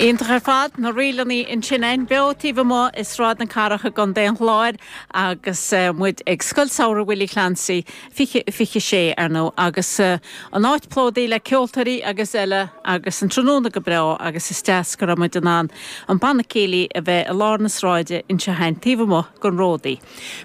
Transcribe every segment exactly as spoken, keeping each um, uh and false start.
Iontach ar fad na ríleanna ansin againn beo taobh amuigh i Sráid na Cathrach i gContae an Chláir agus uh, muid ag Scoil Samhraidh Willie Clancy fiche fiche sé ar ndóigh agus uh, an áit plódaithe le ceoltóirí agus eile agus an tráthnóna go breá agus is deas go raibh muid in ann an banna céilí a bheith i lár na sráide anseo againn taobh amuigh den Ródaí.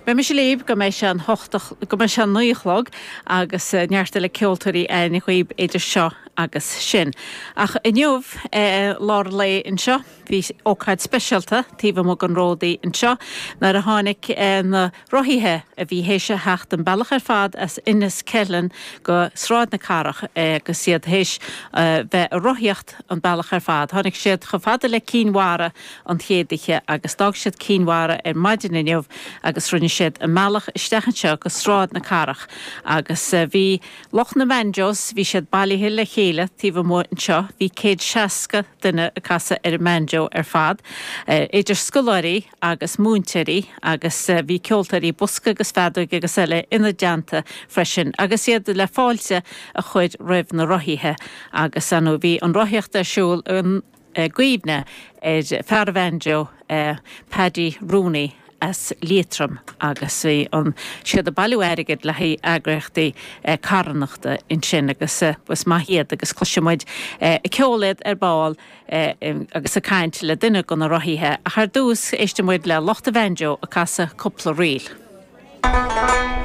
Beidh mise libh go mbeidh sé an hocht go mbeidh sé an naoi a chlog agus uh, neart eile ceoltóirí againn daoibh idir seo agus sin. Ach inniu eh, lár lae anseo, bhí ócáid speisialta taobh amuigh den Ródaí anseo nuair a tháinig eh, na rothaithe a bhí théis a theacht an bealach ar fad as Inis Ceithleann go Sráid na Cathrach eh, agus iad théis eh, bheith ag rothaíocht an bealach ar fad. Tháinig siad chomh fada le Cinn Mhara an chéad oíche agus d'fhág siad Cinn Mhara ar maidin inniu agus rinne siad a mbealach isteach anseo go Sráid na Cathrach agus eh, bhí lucht na banjos bhí siad bailithe le chéile taobh amuigh anseo, bhí céad seasca duine ag casadh ar an mbanjo ar fad, eh, idir scoláirí agus múinteoirí agus eh, bhí ceoltóirí bosca agus feadóg agus eile ina dteannta freisin, agus iad le fáilte a chur roimh na rothaithe agus ann bhí an rothaíocht ar siúl an eh, gcuimhne ar fear banjo eh, Paddy Rooney as Liatroim agus bhí an siad ag bailiú airgid le haghaidh eagraíochtaí eh, carthanachta ansin agus eh, was maith iad agus cloisfidh muid eh, ceol iad ar ball eh, agus ag caint le duine de na rothaithe ach ar dtús éistfidh muid le lucht an bhanjo ag casadh cúpla ríl.